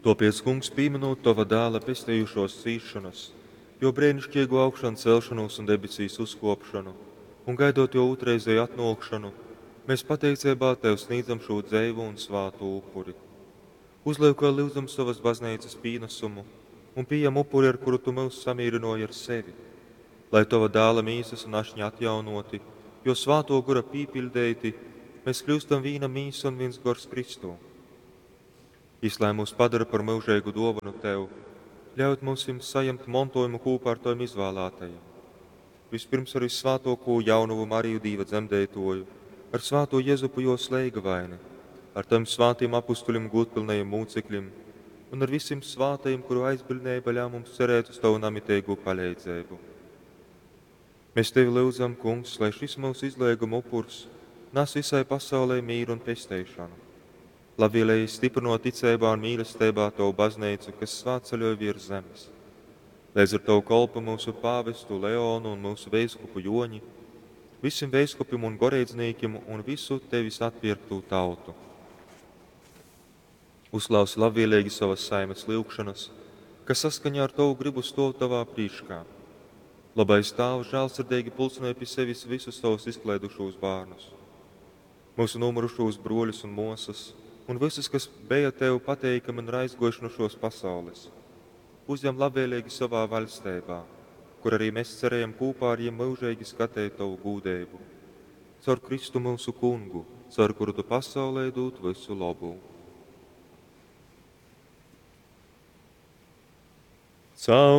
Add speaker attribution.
Speaker 1: Tōpēc, Kungs, pīmynūt Tova Dāla pestejušōs cīsšonas, Jō breiniškeigū augšancelšonūs un debesīs uzkōpšonu un gaidot Jō ūtrreizeju atnōkšonu, mēs pateiceibā Tev snīdzam šū dzeivū un svātū upuri. Uzlyukoj, lyudzam, sovas Bazneicas pīnasumu un pījam upuri, ar kuru Tu myus samīrynōji ar sevi. Lai Tova Dāla mīsas un ašņa atjaunōti, Jō Svātō Gora pīpiļdeiti, mēs kļyustam vīna mīsa un vīns gors Kristū. Jys lai myus padara par myužeigu dōvonu Tev, ļaut myusim sajemt montōjumu kūpā ar Tovim izvālātajim. Vispirms ar vyssvātōkū jaunovu Mariju Dīva dzemdeitōju, ar svātū Jezupu jōs leigavaini, ar Tovim svātim apustuļim gūdpylnajim mūcekļim un ar visim svātajim, kuru aizbiļdneiba ļauj mums cerēt uz Tovu namiteigū paleidzeibu. Mēs Tevi lyudzam, Kungs, lai šis mūsu izleiguma upurs nas visai pasaulei mīru un pesteišonu. Labvēlīgi stiprinot ticeibā un mīlestībā Tavu baznīcu, kas svētceļoj virs zemes. Līdz ar Tavu kolpu mūsu pāvestu Leonu un mūsu veiskupu Joņi, visiem veiskupim un goreidznīkim un visu Tevis atpirktū tautu. Uzklausi labvēlīgi savas saimes lyugšanas, kas saskaņā ar Tavu gribu stōv Tavā prīškā. Labais Tāvs žēlsirdīgi pulcināja pie sevis visus savus izklaidušos bērnus, mūsu nomurušos broļus un mosas, un visus, kas bija Tev pateikami un ir aizgojuši no šos pasaules. Uzņem labvēlīgi savā vaļstībā, kur arī mēs cerējam kopā ar viņiem mūžīgi skatīt Tavu gūdību. Caur Kristu mūsu kungu, caur kuru Tu pasaulē dod visu labu. Caur